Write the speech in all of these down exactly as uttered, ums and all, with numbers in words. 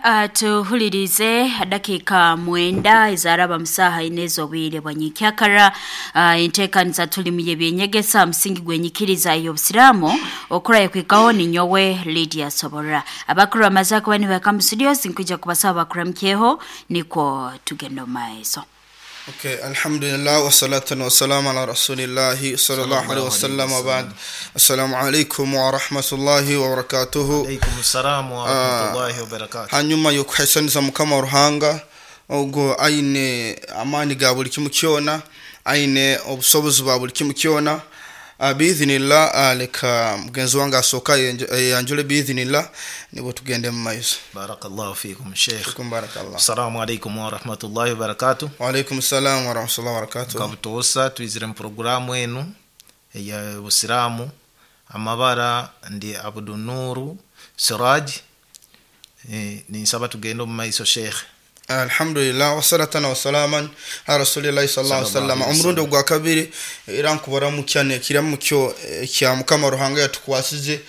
Atuhulirize dakika mwenda ezaraba musaha inezo obwire bwa nyikyakara. uh, enteekaniza tulimu y'ebyenyegesa musingi gwenyikiriza y'obusiraamu okurayo kwikaho ni nyowe Lydia Soborra. Abakuru amaze kuba nibaka mu studios nkwija kubasaba bakuramukyeho nikwo tugenda mu maiso. Okay, alhamdulillah wassalatu wassalamu ala rasulillahi sallallahu alaihi wasallam wa ba'd. Assalamu alaikum wa rahmatullahi wa barakatuhu. Alaikum salamu wa rahmatullahi wa barakatuh. Hanyuma yokuhaisaniza Mukama Ruhanga ogwo aine amani ga buli kimu kyona, aine obusobozi bwa buli kimu kyona. Uh, biidhinillah, uh, leka mugenzi wange asooka yanjule biidhinillah nibo tugende mu maiso. Barakallahu fikum sheikh. Fikum barakallah. Assalamu alaikum wa rahmatullahi wa barakatuh. Wa alaikum salam wa rahmatullahi wa barakatuh. Kabutosa twizire mu programu enu eya Busiraamu. Amabara ndi Abdunuru Siraj. E, ninsaba tugende mu maiso sheikh. Alhamdulillah wassalatan wasalaman ala rasulillahi sallallahu alaihi wasallam. Omurundi ogwa kabiri era nkubaramukya nekiramukyo kya Mukama Ruhanga yatukwasize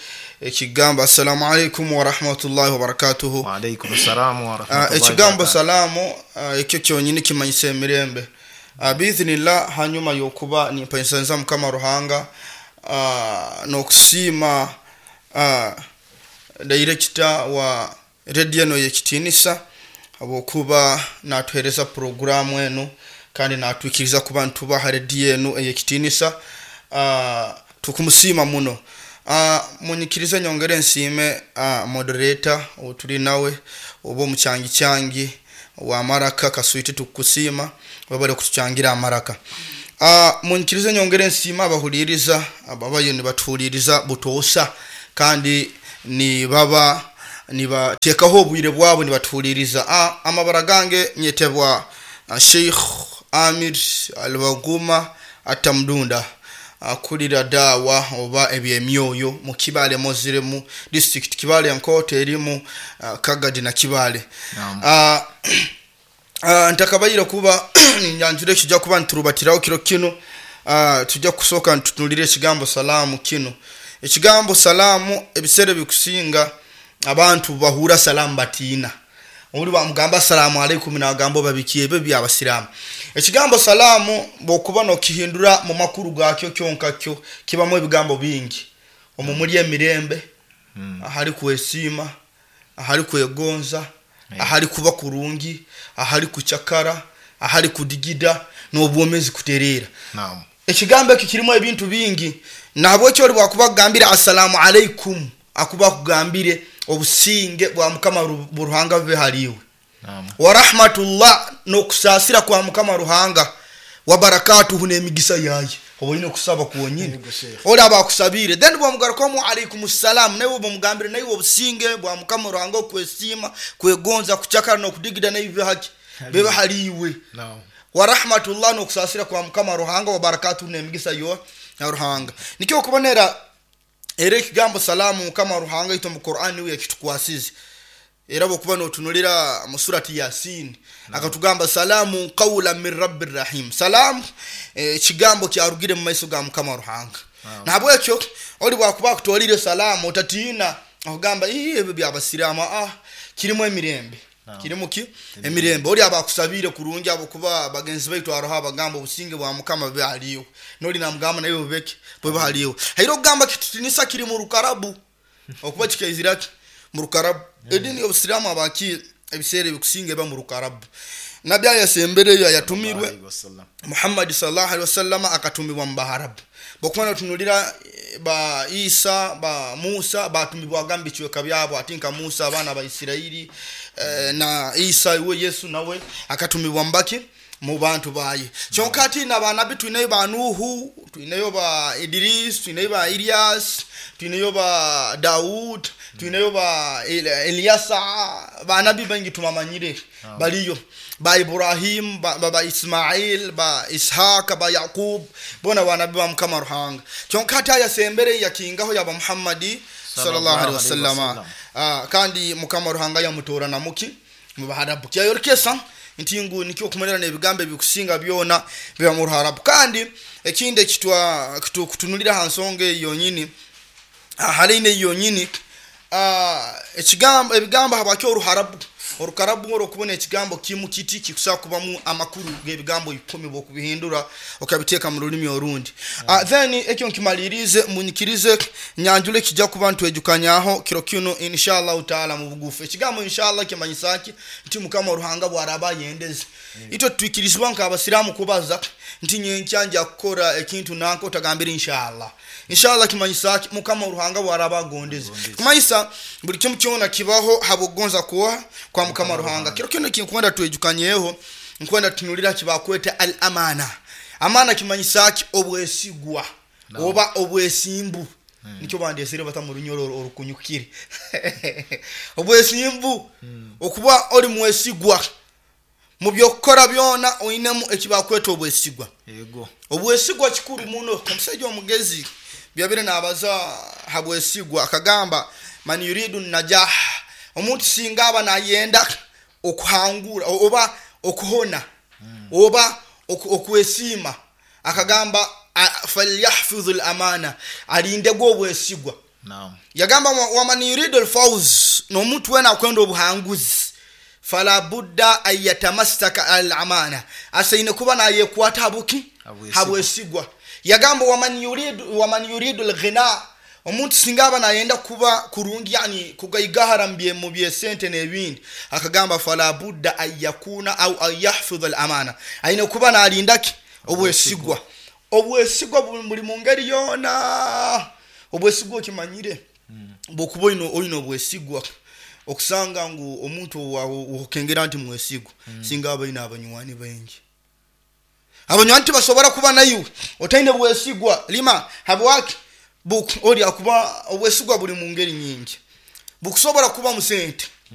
ekigamba assalamu alaikum wa rahmatullahi wa barakatuhu. Wa alaikum salam wa rahmatullahi. Ekigambo salamu ekyo kyonyini kimanyisa emirembe. Biidhinillah, hanyuma yokuba nimpaisanza Mukama Ruhanga n'okusiima director wa radio eno y'ekitinisa habwokuba natuhereza programu enu kandi natwikiriza kuba ntubaha rediyo enu eyekitinisa. uh, tukumusiima muno. uh, munyikirize nyongere nsiime uh, moderator otuli nawe oba omukyangi kyangi wa maraka kaswiti, tukusiima babale kutucyangira amaraka. uh, munyikirize nyongere nsiima abahuliriza ababayo nibatuhuliriza butoosa kandi nibaba nibateekaho obwire bwabo nibatuhuliriza. Ah, amabara gange nyetebwa uh, Sheikh Amir Alwaguma Atamdunda, akulira dawa oba ebyemyoyo mu Kibale Moziremu district, Kibale Nkoto erimu uh, Kagadi na Kibale. uh, uh, ntakabayira kuba ninyanjure kijja kuba nturubatiraho kiro kino. uh, tujja kusooka ntutunulire ekigambo salaamu kino. Ekigambo salaamu ebiseera bikusinga abantu bahura salamu batiina. Oli bamugamba assalamu alaikum nagamba babikiye ebyo byabasiraamu. Ekigambo salamu bw'okuba n'okihindura mu makulu gakyo kyonka kyo kibamu ebigambo bingi. Omwo muli emirembe, Mm. ahali kwesiima, ahali kwegonza, Yeah. ahali kuba kurungi, ahali kucakara, ahali kudigida n'obwomezi kutereera. Naam. Ekigambo ekyo kirimu ebintu bingi. Nahabwekyo oli bwakuba akugambire assalamu alaikum akuba akugambire obusinge bwa Mukama Ruhanga bube haliwe. Naam. Wa rahmatullah, n'okusaasira kwa Mukama Ruhanga, wa barakatuhu, n'emigisa yaye. Oba olina okusaba kwonyini oli aba akusabire, then bwamugarukamu alaikum salam, naye bwamugambire naye obusinge bwa Mukama Ruhanga okwesiima, kwegonza, kucakara n'okudigida naye bibe haki bibe haliwe. Naam. Wa rahmatullah, n'okusaasira kwa Mukama Ruhanga, wa barakatuhu, n'emigisa yo ya Ruhanga. Nikyo okubonera era ekigambo salaamu Mukama Ruhanga ito mu Qur'ani we yakitukwasize. Era bwokuba n'otunulira mu surati Yasin akatugamba salaamu qawlan min rabbir rahim. Salaamu ekigambo eh, kyarugire mu maiso ga Mukama Ruhanga. Nahabwekyo oli bwakuba akutwalire salaamu otatiina akugamba ii ebyo byabasiraamu. Ah, kirimu emirembe. Kirimu ki emirembe. Oli aba akusabire kurungi abokuba bagenzi baitu aroho abagamba obusinge bwa Mukama bube haliwe, noli namugamba naye bubeke bube haliwe. Hairo okugamba kitutinisa kiri mu rukarabu okuba kikaiziraki mu rukarabu. Edini y'obusiraamu abaki ebiseera ebikusinga eba mu rukarabu. Nabbi ayasembereyo ayatumirwe Alaihi wasallam. Muhammad sallallahu alaihi wasallam akatumibwa mu Baharabu. Bwokuba notunulira ba Isa ba Musa batumibwaga mu bicweka byabo, ati nka Musa abaana ba Isirayiri eh, na Isa iwe Yesu nawe akatumibwa mbaki mu bantu baye. Kyonka ati n'abanabi twinayo ba Nuhu, twinayo ba Idris, twinayo ba Ilyas, twinayo ba Daud, twinayo ba Eliasa, banabi bangi tumamanyire baliyo ba Ibrahim ba, ba, ba Ismail ba Ishaka ba Yaqub bona banabi ba Mukama Ruhanga. Kyonka ati ayasembere yakingaho yaba Muhammadi sallallahu alaihi wasallam. Ah, kandi Mukama Ruhanga yamutora namuki mu Baharabu. Kyayorokesa nti ngu nikyo okumerera n'ebigambo ebikusinga byona biba mu Ruharabu. Kandi ekindi ekitwa kutunulira ha nsonga eyo yonyini, haleine yonyini, ekigambo ebigambo habakyo Oruharabu. Orukarabu oro okubona ekigambo kimu kiti kikusobola kubamu amakuru g'ebigambo ikumi bwokubihindura okabiteeka mu rulimi orundi. Ah, then ekyo nkimalirize, munyikirize nyanjule kijja kuba ntwejukanyaho kiro kino inshallah taala mu bugufu. Ekigambo inshallah kimanyisa ki? Nti Mukama Ruhanga bwaraba yendeze. Itwe twikirizibwa nk'abasiraamu kubaza nti nyenkya nja kukora ekintu nanka otagambira inshallah. Inshallah kimanyisa ki? Mukama Ruhanga bwaraba agondeze. Kumanyisa buli kimu kyona kibaho habwokugonza kuwa kwa Mukama Ruhanga. Kiro kino kinkwenda twejukanyeho, nkwenda tunulira kibakweta al amana. Amana kimanyisa ki? Obwesigwa oba obwesimbu. Nikyo bandesere bata mu runyoro orukunyukire. Obwesimbu, okuba oli mwesigwa mu byokukora byona oinemu ekibakweta obwesigwa. Yego. Obwesigwa kikuru muno. Omusajja omugezi byabire nabaza habwesigwa akagamba man yuridu najah, omuntu singa aba nayenda okuhangura oba okuhona oba oku-, okwesiima, akagamba falyahfidhu al-amana, alinde obwesigwa. Naam. Yagamba wa-, wa man yuridu al-fawz, n'omuntu wena akwenda obuhanguzi, fala budda an yatamassaka al-amana, asaine kuba nayekwata habuki? Habwesigwa. Habwesigwa. Yagamba wa man yuridu, wa man yuridu al-ghina, omuntu singa aba nayenda kuba kurungi, yani kugaigahara mbye mu byesente n'ebindi, akagamba fala budda an yakuna au an yahfidha al-amana, aine kuba nalindaki? Obwesigwa. Obwesigwa buli mu ngeri yona. Obwesigwa okimanyire bwokuba oyina, oyina obwesigwa, okusanga ngu omuntu okengera nti mwesigwa, singa aba ayina abanywani baingi. Abanywani tibasobora kuba nayo otaine bwesigwa. Lima habwaki? Buk-, oli akuba obwesigwa buli mu ngeri nyingi. Bukusobora kuba mu sente.